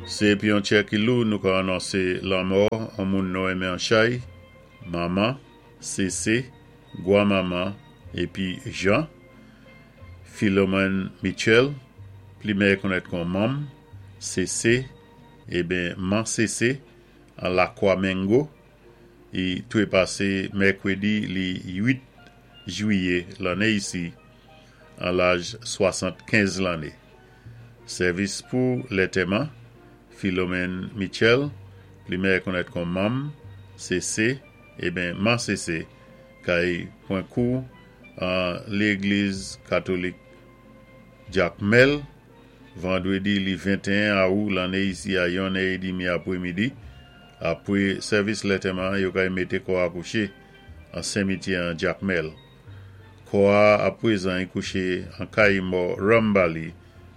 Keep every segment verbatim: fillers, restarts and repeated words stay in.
Sé épi an tjè ki lou nou ka anonsé lanmò an moun nou enmen an chay, Manman, Sésé, Gwanmanman épi Jean, Philomène Mitchell, pli mèyè konnèt kon Mom, Sésé, ébyen Man Sésé, an Lakwa Mengo, i twépasé mèkwédi li uit jwiyé lanné isi, an laj swasant-kenz lanné. Sèvis pou lantèman, Philomène Mitchell, pli mèyè konnèt kon Mom, Sésé, ébyen Man Sésé, kay pwan kou an légliz katolik Jakmèl, vandwédi li venteyen awou lanné isi a yonn è édmi apwémidi. Apwé sèvis lantèman, yo kay mété kò a kouché an simityè an Jakmèl. Kò a apwézan i kouché an kay mò Rambali,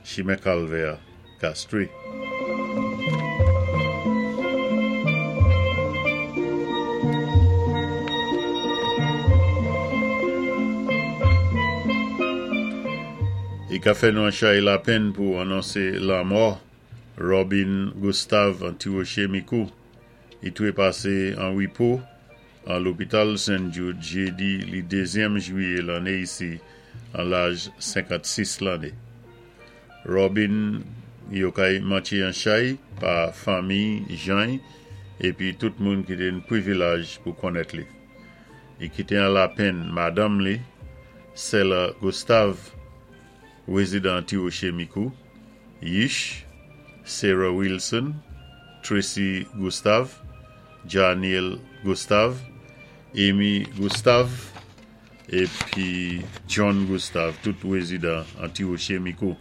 chimen Kalvè, Castries. I ka fè nou an chay lapenn pou anonsé lanmò Robin Gustave an Ti Woché Mikou. I twépasé an wépo an lopital Saint Jude jédi li dézyèm jwiyé lanné isi an laj senkant-sis lanné. Robin yo kay mantjé an chay pa fanmi jan épi tout moun ki té ni pwivilaj pou konnèt li. I kité an lapenn madanm li, Sela Gustave, wézidan Ti Woché Mikou, Yish, Sarah Wilson, Tracy Gustave, Janiel Gustave, Amy Gustave, épi John Gustave, tout wézidan an Ti Woché Mikou.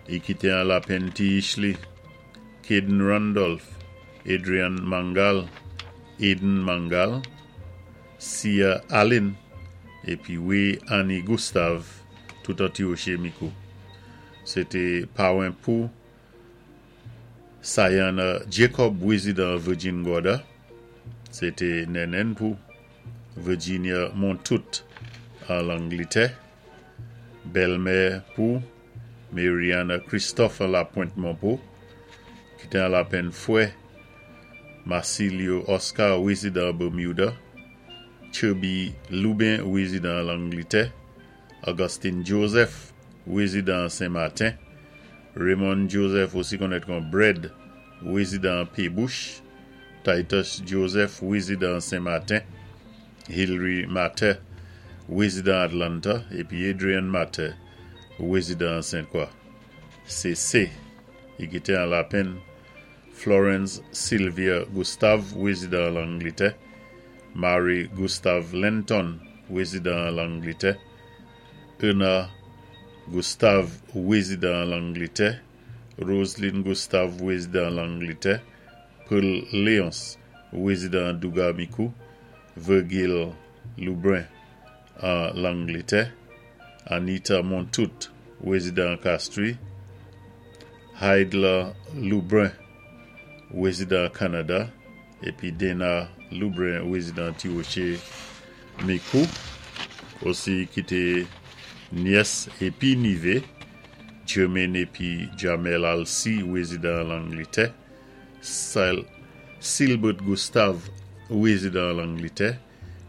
I kité an lapenn ti yich li, Caden Randolph, Adrian Mangal, Aiden Mangal, Sia Allen, épi Way Annie Gustave, tout an Ti Woché Mikou. Sé té pawen pou Sayana Jacob, wézidan Virgin Gorda. Sé té nènèn pou Virginia Montout an Langlitè. Bèlmè pou Mariana Christophe La Pointe Monpo, kité an lapenn fwè Marcilio Oscar, wézidan Bermuda, Chubby Lubin, wézidan Langlitè, Augustine Joseph, wézidan Saint-Martin, Raymond Joseph, osi konnèt kon Bread, wézidan Pébush, Titus Joseph, wézidan Saint-Martin, Hillary Matter, wézidan Atlanta, épi Adrian Matter, wézidan Sainte-Croix. C C, i kité an lapenn Florence Sylvia Gustave, wézidan Langlitè, Mary Gustave Lenton, wézidan Langlitè, Erna Gustave, wézidan Langlitè, Roseline Gustave, wézidan Langlitè, Pearl Léonce, wézidan Douga Mikou, Virgil Lubrun an Langlitè, Anita Montout, wézidan Castries, Heidler Lubrun, wézidan Kanada, épi Dana Lubrun, wézidan Ti Woché Mikou, osi kité nyès épi nivé, Jermaine épi Jamel Alcy, wézidan Langlitè, Silbert Gustave, wézidan Langlitè,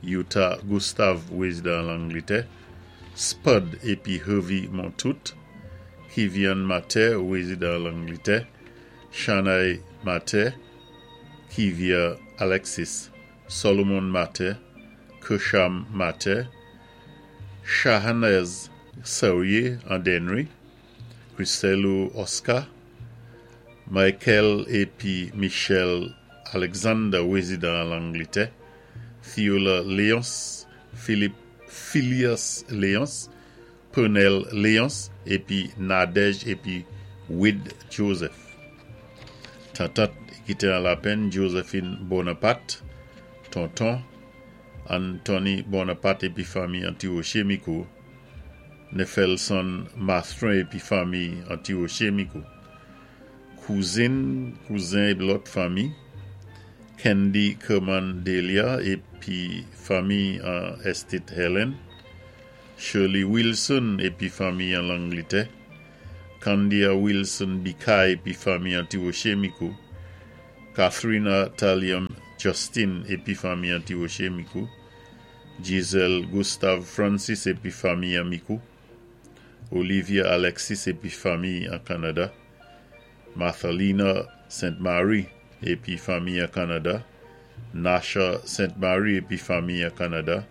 Utah Gustave, wézidan Langlitè, Spud épi Hervey Montout, Kivian Mater, wézidan Langlitè, Shanai Mater, Kivia Alexis, Solomon Mater, Kersham Mater, Shahanez Saurier an Dennery, Christelo Oscar, Michael épi Michel Alexander, wézidan Langlitè, Theola Léonce, Philippe Phileas Léonce, Pernell Léonce, épi Nadège épi Wade Joseph. Tantant kité an lapenn Josephine Bonaparte, tonton Anthony Bonaparte épi fanmi an Ti Woché Mikou, Nefelson Mathrin épi fanmi an Ti Woché Mikou. Kouzin, kouzen épi lòt fanmi, Candy Kerman Delia épi fanmi an Estate Helen, Shirley Wilson épi fanmi an Langlitè, Candia Wilson Bika épi fanmi an Ti-Woché Mikou, Catherina Talium Justin épi fanmi an Ti-Woché Mikou, Giselle Gustave Francis épi fanmi an Mikou, Olivia Alexis épi fanmi an Kanada, Mathalina Sainte Marie épi fanmi an Kanada, Nasha Sainte Marie épi fanmi an Kanada,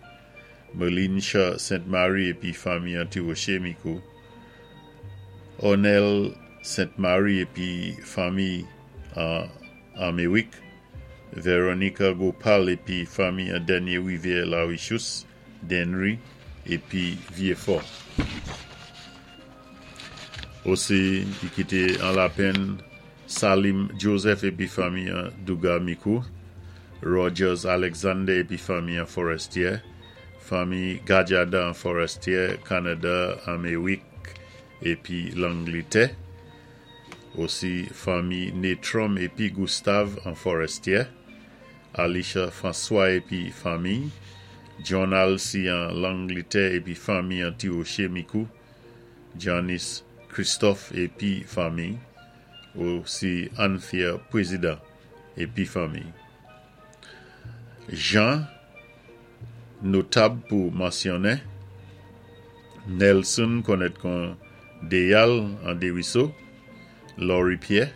Melinsha Sainte Marie épi fanmi an Ti-Woché Mikou, Onel Sainte Marie épi fanmi an Améwik, Veronica Gopal épi fanmi an Dènyé Rivyè Larichous, Dennery épi Vieux-Fort. Osi, i kité an lapenn Salim Joseph épi fanmi an Douga Mikou, Rogers Alexander épi fanmi an Forestier, fanmi Gajada an Forestier, Kanada, Améwik épi Langlitè, osi fanmi Netrom épi Gustave an Forestier, Alicia François épi fanmi, John Alcy an Langlitè épi fanmi an Ti-Woché Mikou, Janice Christophe épi fanmi, osi Anthea Président épi fanmi. Jean, notab pou mansyonnen, Nelson konnèt kon Deyal an Desruisseaux, Laurie Pierre,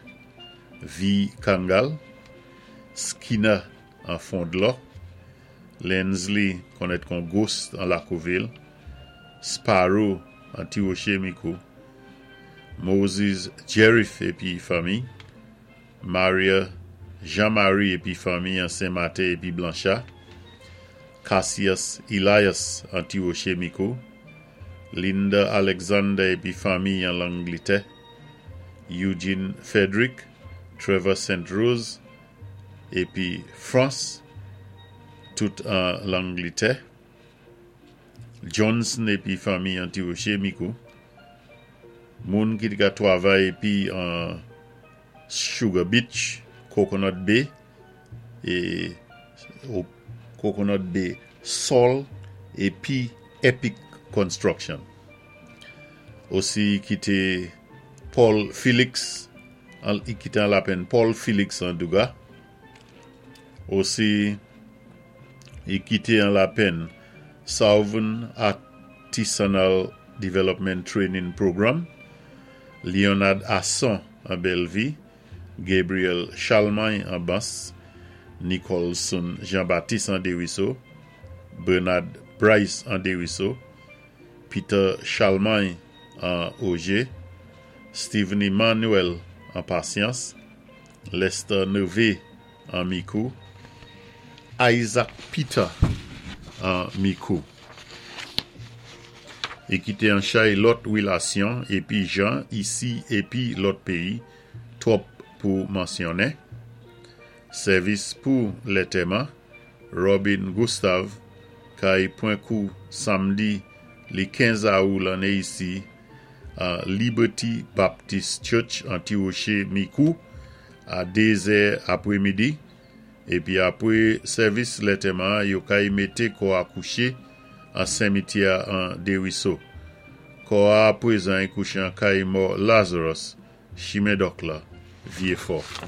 V. Kangal, Skinner an Fondlo, Lensley konnèt kon Ghost an Lakouvil, Sparrow an Ti-Woché Mikou, Moses Jerif épi fanmi, Maria Jean-Marie épi fanmi an Saint-Martin épi Blanchard, Cassius Elias an Ti-Woché Mikou, Linda Alexander épi fanmi an Langlitè, Eugene Frederick, Trevor Saint Rose épi France, tout an Langlitè, Johnson épi fanmi an Ti-Woché Mikou, moun ki té ka twavay épi an Sugar Beach, Coconut Bay, é Coconut Bay Sol épi Epic Construction. Osi kité Paul Felix, i kité an lapenn Paul Felix an Douga. Osi i kité an lapenn Southern Artisanal Development Training Program, Leonard Asson an Bellevue, Gabriel Chalmagne an Bas, Nicholson Jean-Baptiste an Desruisseaux, Bernard Bryce an Desruisseaux, Peter Chalmagne an Auger, Stephen Emmanuel an Patience, Lester Neve an Mikou, Isaac Peter an Mikou. I kité an chay lòt wilasyon épi jan isi épi lòt péyi, twòp pou mansyonnen. Sèvis pou lantèman, Robin Gustave, kay pwan kou samdi li kenz awou lanné isi a Liberty Baptist Church an Ti-Woché Mikou a dézè apwé midi. Épi apwé sèvis lantèman, yo kay mété kò a kouché an simityè an Desruisseaux. Kò a pwézan kouché an kay mò Lazarus, Chimen Dòk la, Vieux-Fort.